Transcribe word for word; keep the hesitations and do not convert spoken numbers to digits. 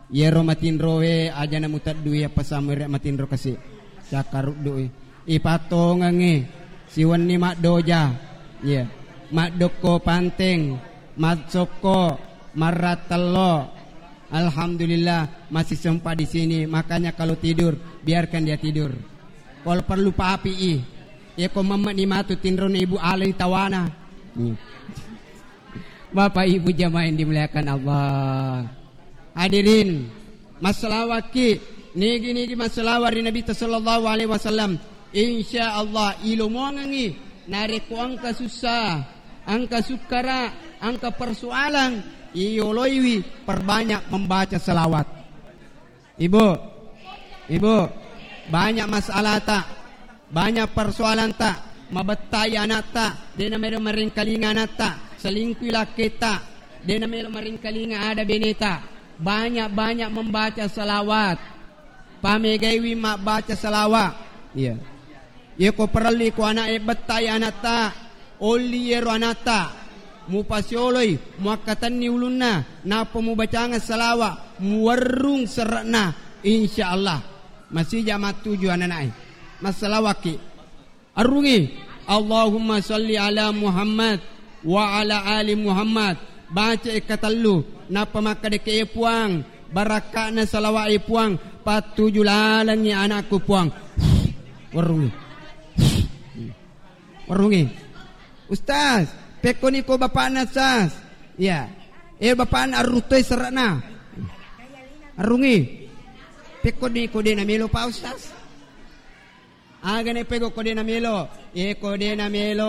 Iyaro matinroe aja namuteddui, apa samere matinro kasi. Cakkaruddu'i. Ipattongengngi siwenni maddoja. Iya. Maddokko panteng, massokko, marrattello. Alhamdulillah, masih sempat di sini. Makanya kalau tidur, biarkan dia tidur. Kalau perlu papi'i. Iya ko memme'ni matu tinrona ibu alai tawana. Iya. Bapak Ibu jamaah yang dimuliakan Allah. Hadirin, massalawakki, nigi-nigi massalawa ri Nabitta sallallahu alaihi wasallam. Insya Allah, ilomongengngi narekko engka sussa, engka sukkara, engka persoalan, iyoloiwi perbanyak membaca salawat. Ibu, ibu, banyak masalahta, banyak persoalanta, mabettai anatta, de namelo maringkalinga anatta, selingkui lakketta, de namelo maringkalinga ada beneta. Banyak-banyak membaca salawat. Pamegaiwi mabbaca salawat. Iya. Yeko parelli ko ana'e bettai anatta, olli yero anatta, mupasioloi, muakkatenni ulunna, nappa mubacangeng salawa, muwerrung serre'na, insya Allah. Masija mattuju anana'e. Massalawakki. Arrungi. Allahumma salli ala Muhammad wa ala ali Muhammad. Baca e katellu, nappa makkadeke, "E Puang, barakka'na salawa e Puang, pattuju lalengngi anakku Puang." Warungi. Warungi. "Ustaz, pekkoni ko bapakna, Ustaz?" "Iya." "E, bapakna arruttoi serre'na." Arrungi. "Pekkoni ko de namelo, Pak Ustaz?" Aga ne pego ko de namelo? E, ko de namelo,